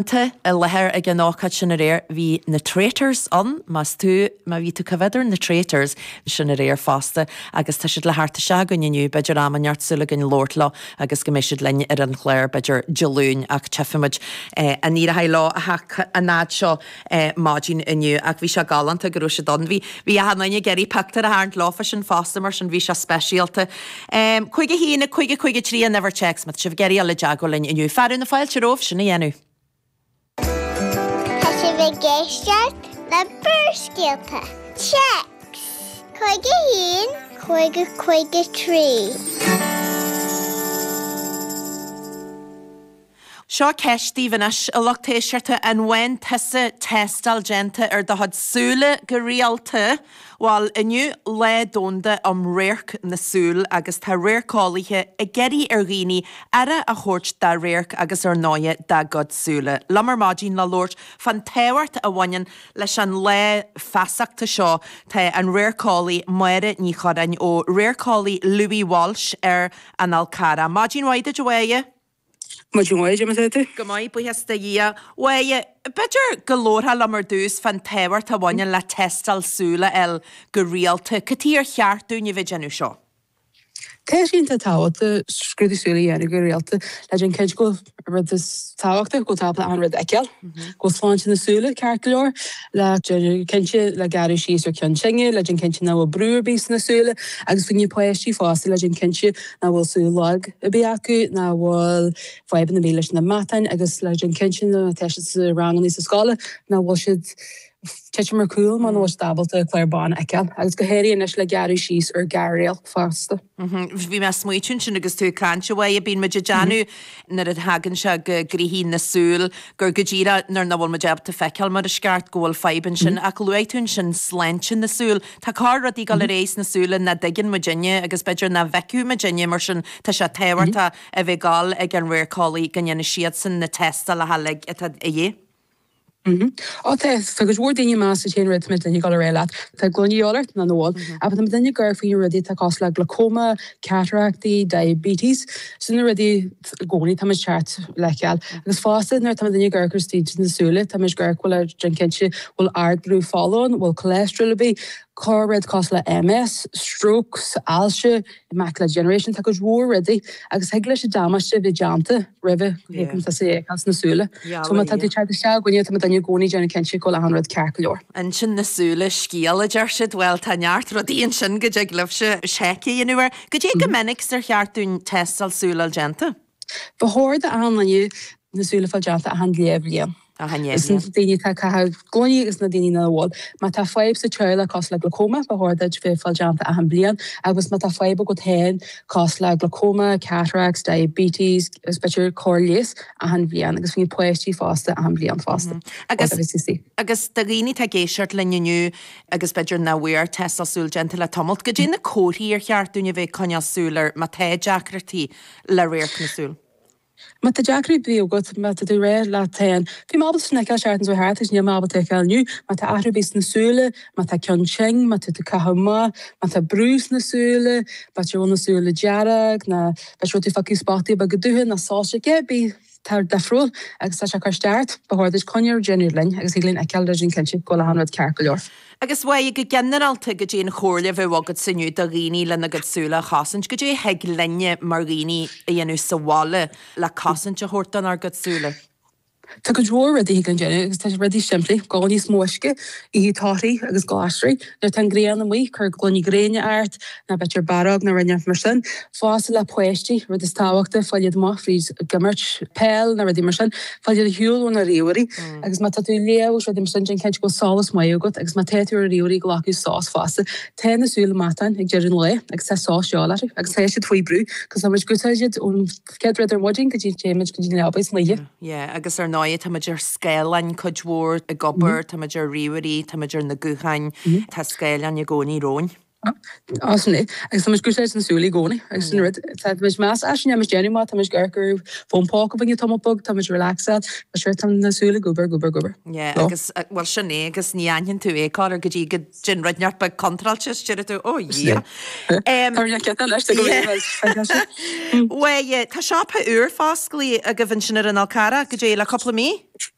I láthair ag an ócáid sin aréir bhí na Traitors ann, más tú, má bhí tú coimhéad ar na Traitors sin aréir fosta agus tá siad le theacht isteach chugainn inniu, b'fhéidir am inteacht súil againn labhairt leo agus go mbeidh siad linn ar an chlár b'fhéidir Dé Luain ach tchífimid an éireoidh leo a theacht an fhad seo maidin inniu ach bhí sé galánta go raibh siad ann. Bhí, bhí achan duine ag iarraidh pictiúr a tharraingt leofa sin fosta mar sin bhí sé speisialta. 51 5 5 3 an uimhir téacs má tá sibh ag iarraidh dul i dteagmháil linn inniu. Fearadh na fáilte romhaibh sin a dhéanamh. Tá sibh ag éisteacht le Barrscéalta, Téacs 51 5 5 3. Seo ceist daoibh anois, a lucht éisteachta, an bhfaigheann tusa tástáil déanta ar do chuid súile go rialta? Bhuel, inniu Lá Domhanda um Radharc na Súl agus tá radharceolaithe ag iarraidh ar dhaoine aire a thabhairt dá radharc agus ar ndóighe dá gcuid súile. Liom ar maidin le labhairt fán tábhacht a bhaineann leis an lá feasachta seo tá an radharceolaí Máire Ní Churráin ó Radharceolaí Louis Walsh ar an Fhál Carrach. Maidin mhaith duit a Mháire! Maidin mhaith, cad é mar atá tú? Go maith, buíochas do Dhia. A Mháire, b'fhéidir go labharfá liom ar dtús fán tábhacht a bhaineann le tástáil súl a fháil go rialta. Cad chuige ar cheart dúinn a bheith ag déanamh seo? Tá sé iontach tábhachtach scrúdú súl a dhéanamh go rialta le déanamh cinnte go bhfuil an rud is tábhachtaí, go bhfuil tú ábalta achan rud a fheiceáil, go bhfuil sláinte na súile ceart go leor, le déanamh cinnte le gearradh síos ar cheann tinne, le déanamh cinnte nach bhfuil brú ar bith sna súile agus faoi na páistí fosta le déanamh cinnte nach bhfuil súil lag ar bith acu, nach bhfuil fadhbanna ar bith leis na matáin agus le déanamh cinnte nuair atá siad sa ranganna sa scoil nach bhfuil siad titim ar cúl mar nach bhfuil siad ábalta clár bán a fheiceáil agus go háirithe anois le gearradh síos ar gearr-radharc fosta. Bhí mé ag smaoitiú ansin agus tú ag caint, a Mháire, bíonn muid ag déanamh nuair a thagann sé go gnoithí na súl gur go díreach nuair nach bhfuil muid ábalta feiceáil mar is ceart go bhfuil fadhb ansin ach luaigh tú ansin sláinte na súl. Tá corr rudaí ag dul ar aghaidh sna súile nach dtuigeann muidinne agus b'fhéidir nach bhfeicfeadh muidinne mar sin tá sé tábhachtach a bheith ag dul ag an radharceolaí go ndéanfaidh siadsan na tástálacha uilig atá de dhíth. Ó tá, tá cuid mhór daoine meas an t-aon rud tá muidinne ag dul ar aghaidh leat. Tá gloine de dhíobháil ort nó nach bhfuil. Ach tá muidinne ag amharc faoi na rudaí atá cosúil le glaucoma, cataractaí, diabetes. Sin na rudaí i gcónaí tá muid ceart le feiceáil. Agus fosta nuair atá muidinne ag amharc ar staid na súile, tá muid ag amharc bhfuil ar déanamh cinnte bhfuil ardbhrú fola ann, bhfuil cholesterol ar bith, corr rud cosúil le MS, strokes, ailse, macular degeneration, tá cuid mhór rudaí agus thig leis an damáiste a bheith déanta roimhe go dtiocfaidh tusa a fheiceáil sna súile. So má tá tú ag teacht isteach chugainne tá muidinne i gcónaí ag déanamh cinnte go bhfuil achan rud ceart go leor. Intinn na súile scéal a deir siad. Bhuel tá neart rudaí ansin go dtig libhse seic a dhéanamh air. Goidé chomh minic is ar cheart dúinn tástáil súl a fháil déanta? Ba chóir d'achan duine na súile a fáil déanta achan leathbhliain. Achan Is na leathbhliain. daoine atá ag caitheamh gloiní agus na daoine nach bhfuil. Má tá fadhb sa teaghlach cosúil le glaucoma, ba chóir duit bheith fáil déanta achan bliain agus má tá fadhb agat féin cosúil le glaucoma, cataracts, diabetes agus b'fhéidir cóir leighis achan bhliain agus faoi na páistí fosta achan bhliain fosta. Agus agus do dhaoine atá ag éisteacht linn inniu agus b'fhéidir nach bhfuair tástáil súl déanta le tamalt, goidé na comharthaí ar cheart dúinn a bheith ag coinneáil súil air má tá deacrachtaí le radharc na súl? Má tá deacrachtaí ar bith agat, má tá tú ag rá leat féin, bhí mé ábalta sin a fheiceáil seachtain seo thart agus níl mé ábalta a fheiceáil inniu, má tá athrú ar bith sna súile, má tá ceann tinn, má tá tú ag caitheamh amach, má tá brú sna súile, b'fhéidir go bhfuil na súile dearg, nó b'fhéidir go bhfuil tú ag feiceáil spotaí beaga dubha nó soilse, cibé atá difriúil agus tá sé ag cur isteach ort, ba chóir duit coinne a dhéanamh linn agus thig linn a fheiceáil le déanamh cinnte go bhfuil achan rud ceart go leor. Agus a Mháire, go ginearálta, goidé an chomhairle a bheadh agatsa inniu do dhaoine lena gcuid súile a chosaint? Goidé a thig linne mar dhaoine a dhéanamh sa bhaile le cosaint a thabhairt donár gcuid súile? Tá cuid mhór rudaí a thig linn déanamh agus tá rudaí simplí, ól níos mó uisce, ithe torthaí agus glasraí. Nuair atá an ghrian amuigh, cuir gloine gréine ort, nó b'fhéidir barróg nó rud inteacht mar sin. Fosta le páistí, rud is tábhachtaí, fáil iad amuigh fríd ag imirt peil nó rudaí mar sin, fáil iad ar shiúl ó na ríomhairí. Agus má tá tú ag léamh agus rudaí mar sin, déan cinnte go bhfuil solas maith agat agus má tá tú ar ríomhairí glacadh sos fosta. Tá na súile matáin ag deireadh an lae agus tá sos de dhíobháil orthu agus tá siad faoi brú cos tá muid ag úsáid iad ón chéad rud ar maidin go dtí téann muid go dtí an leaba san oíche. Yeah, agus ar ndóigh tá muid ar scáileáin cuid mhór ag obair, tá muid ar ríomhairí, tá muid ar na gutháin, tá scáileáin i gcónaí romhainn. Á, sin é. Agus tá muid ag úsáid na súile i gcónaí agus sin rud. Tá muid meas as sin, muid déanamh má tá muid ag amharc ar fón póca againne tamall beag, tá muid relaxed, but sure tá na súile ag obair, ag obair, ag obair. Yeah, agus, bhuel sin é, agus ní aithníonn tú é corruair go dtí go dtéann rud inteacht beag contráilte is deir tú, oh yeah. Tá rud inteacht anois, tá go Bhuel, tá siopa úr fosclaithe agaibh ansin ar an Fhál Carrach, goidé le cúpla mí?